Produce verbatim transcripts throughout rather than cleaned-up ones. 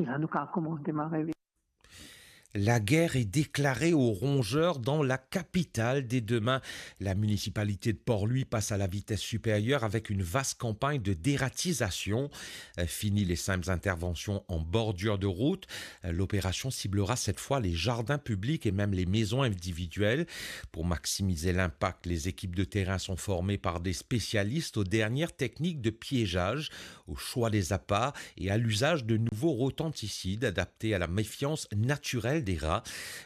La nou kapav koumans demare vit. La guerre est déclarée aux rongeurs dans la capitale. Dès demain, la municipalité de Port-Louis passe à la vitesse supérieure avec une vaste campagne de dératisation. Euh, fini les simples interventions en bordure de route. Euh, l'opération ciblera cette fois les jardins publics et même les maisons individuelles. Pour maximiser l'impact, les équipes de terrain sont formées par des spécialistes aux dernières techniques de piégeage, au choix des appâts et à l'usage de nouveaux rodenticides adaptés à la méfiance naturelle des rats.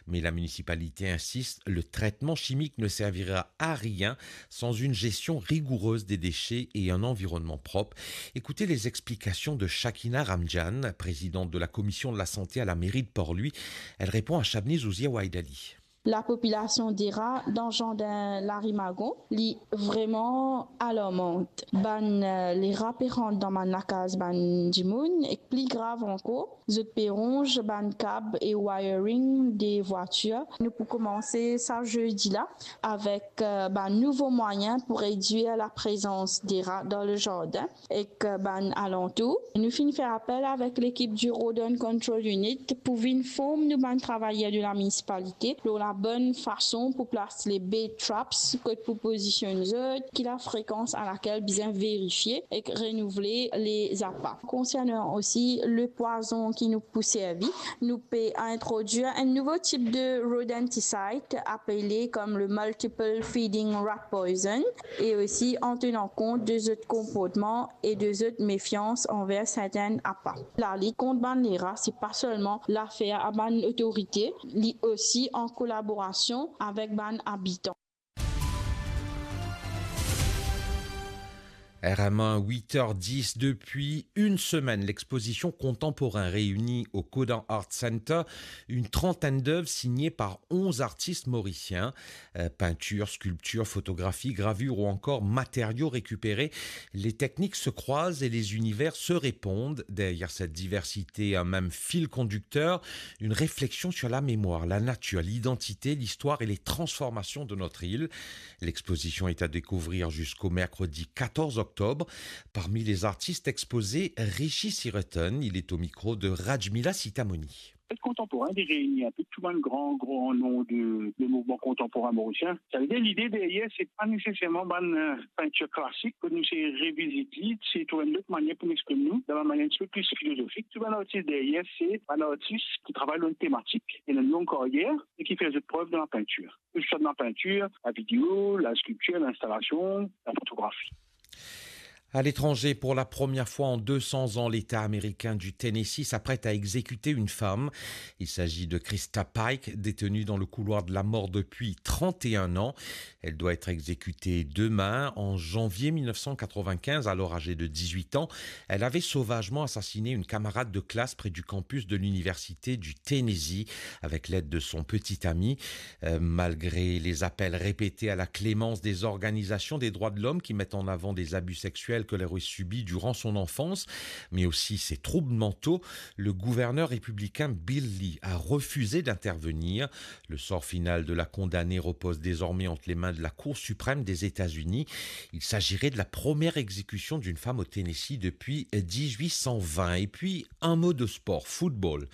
Mais la municipalité insiste, le traitement chimique ne servira à rien sans une gestion rigoureuse des déchets et un environnement propre. Écoutez les explications de Shakina Ramjan, présidente de la commission de la santé à la mairie de Port-Louis. Elle répond à Shabni Zouzia Waidali. Lapopilasion de ra dan zardin Larimagon, li vreman alarmant. Bann, eh, lera pe rant dan bann lakaz bann dimoun, ek pli grav ankor, zot pe ronz bann kab e wiring de vwatir. Nou pou koumanse sa zedi la avek, eh, bann nouvo mwayin pou redwir laprezans de ra dan le zardin ek, eh, bann alantour. Nou finn fer apel avek lekip di Rodent Control Unit pou vinn form nou bann travayer de la munisipalite lor labonn fason pou plas le bait traps, kot pou pozisionn zot, ki lafrekans alakel bizin verifie ek renouvle le zapa. Konsernan osi le pwazon ki nou pou servi, nou pe introdwir enn nouvo tip de rodenticide apele kom le multiple feeding rat poison e osi an tenan kont de zot konportman e de zot mefians anver sertin apa. Lalit kont bann lera, se pa selman lafer a bann otorite, li osi an kolaborasion avek bann abitan. R M un, huit heures dix. Depuis une semaine, l'exposition Contemporain réunit au Codin Art Center une trentaine d'œuvres signées par onze artistes mauriciens. Euh, peinture, sculpture, photographie, gravure ou encore matériaux récupérés, les techniques se croisent et les univers se répondent. Derrière cette diversité, un même fil conducteur, une réflexion sur la mémoire, la nature, l'identité, l'histoire et les transformations de notre île. L'exposition est à découvrir jusqu'au mercredi quatorze octobre. Parmi les artistes exposés, Rishi Sireton, il est au micro de Rajmila Sitamoni. Art kontanporin, li reini inpe tou bann gran, gran non de, de mouvman kontanporin morisien. Sa ve dir, lide deryer, se pa neseserman bann, eh, pintir klasik, kot nou se revizit li, se trouv enn lot manier pou nou exprim nou, dan bann manier enn tipe pli filozofik. Tou bann artis deryer, se bann artis ki travay lor enn tematik, ena enn long karyer, e ki fer zot prev dan lapintir. Ke se swa dan lapintir, lavideo, laskriptir, linstalasion, lafotografi. À l'étranger, pour la première fois en deux cents ans, l'État américain du Tennessee s'apprête à exécuter une femme. Il s'agit de Christa Pike, détenue dans le couloir de la mort depuis trente et un ans. Elle doit être exécutée demain. En janvier mille neuf cent quatre-vingt-quinze, alors âgée de dix-huit ans, elle avait sauvagement assassiné une camarade de classe près du campus de l'université du Tennessee avec l'aide de son petit ami. Euh, malgré les appels répétés à la clémence des organisations des droits de l'homme qui mettent en avant des abus sexuels qu'elle aurait subis durant son enfance, mais aussi ses troubles mentaux, le gouverneur républicain Bill Lee a refusé d'intervenir. Le sort final de la condamnée repose désormais entre les mains de la Cour suprême des États-Unis. Il s'agirait de la première exécution d'une femme au Tennessee depuis dix-huit cent vingt. Et puis, un mot de sport, football.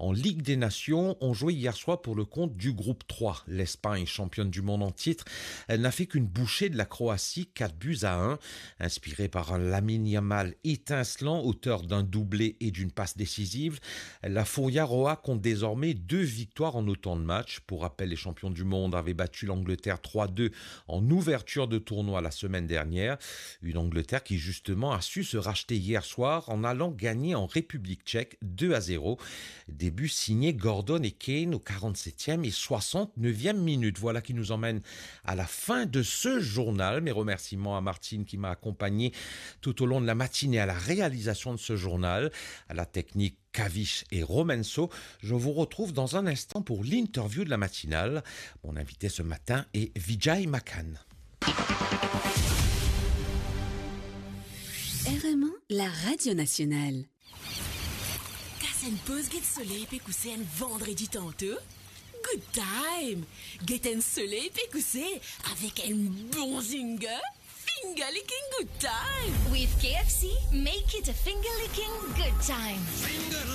En Ligue des Nations, on jouait hier soir pour le compte du groupe trois. L'Espagne, championne du monde en titre, elle n'a fait qu'une bouchée de la Croatie, quatre buts à un. Inspirée par un Lamine Yamal étincelant, auteur d'un doublé et d'une passe décisive, la Furia Roja compte désormais deux victoires en autant de matchs. Pour rappel, les champions du monde avaient battu l'Angleterre trois deux en ouverture de tournoi la semaine dernière. Une Angleterre qui, justement, a su se racheter hier soir en allant gagner en République tchèque deux à zéro. Des buts signés Gordon et Kane aux quarante-septième et soixante-neuvième minutes. Voilà qui nous emmène à la fin de ce journal. Mes remerciements à Martine qui m'a accompagné tout au long de la matinée à la réalisation de ce journal, à la technique Kavish et Romenso. Je vous retrouve dans un instant pour l'interview de la matinale. Mon invité ce matin est Vijay Makhan. R M un, la radio nationale. Kas enn poz, get soley pe kouse enn vandredi tanto. Good time! Get enn soley pe kouse avek enn bon zinger. Finger licking good time! With K F C, make it a finger licking good time.